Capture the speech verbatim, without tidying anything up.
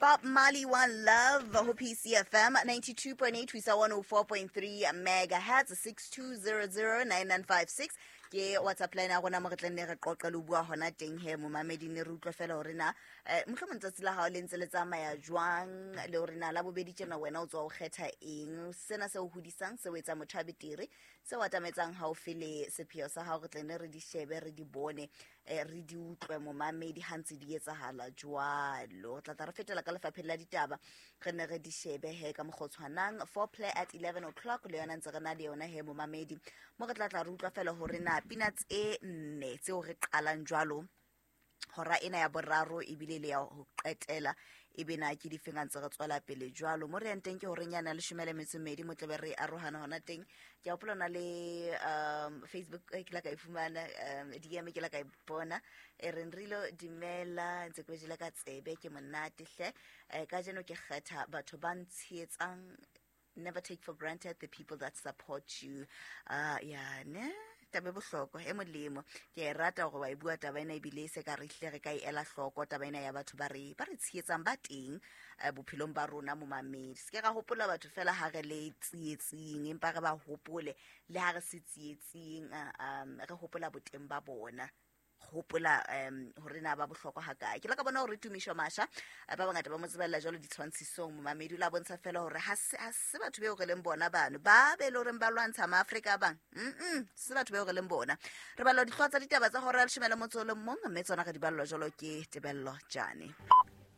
Bob Marley, One Love, ho P C F M ninety-two point eight, one oh four point three megahertz, six two zero zero nine nine five six. Ke WhatsApp line ya rona mo re tla nne re qoqa le ho bua hona teng he, momamedi, ne re utlwe fela hore na, eh, mohlomong tsatsi la hao le ntse le tsamaya jwang, le hore na la bobedi tjena wena o tswa o kgetha eng, sena se o hodisang, se o etsang motho a betere, se o atametsang haufi le sepheo sa hao. Re tla nne re di shebe, re di bone, eh, re di utlwe momamedi ha ntse di etsahala jwalo. Re tla tla re fetela ka lefapheng la ditaba, re ne re di shebe he ka mokgwa o tshwanang. Four play at eleven o'clock le yona ntse re na le yona he momamedi, mo re tla tla re utlwa fela hore na pina tse nne tseo re qalang jwalo hora ena ya boraro ebile le ya ho qetela ebe na ke difeng a ntse re tswela pele jwalo. Mo re yang teng ke horeng yana leshome le metso e mmedi, mo tlabe re arohana hona teng. Ke a hopola hona le, um, Facebook, eh, ke la ka e fumana, um, D M ke la ka e bona, e reng Rilo dumela, ntse ke jele ka tsebe, ke monate hle. Eh, kajeno ke kgetha batho ba ntshehetsang, never take for granted the people that support you. Uh, ya, ne? Taba e bohlokwa, e molemo. Ke a e rata hore wa e bua taba ena, ebile e se ka re hlile re ka e ela hloko taba ena ya batho ba re, ba re tshehetsang ba teng, eh, bophelong ba rona momamedi. Se ke ra hopola batho fela ha re le tsietsing, empa re ba hopole le ha re se tsietsing, eh, um, re hopola boteng ba bona, hopola, um, hore na ba bohlokwa ha kae. Ke la ka bona hore Tumisho Masha, eh, ba bangata ba mo tsebella jwalo ditshwantshisong momamedi, o la bontsha fela hore ha se, ha se batho beo re leng bona bano, ba be le horeng ba lwantsha maAfrika a bang. Mm-mm, se batho beo re leng bona. Re balla dihlooho tsa ditaba tsa hora ya leshome le motso o le mong, mme tsona re di ballwa jwalo ke Tebello Jane.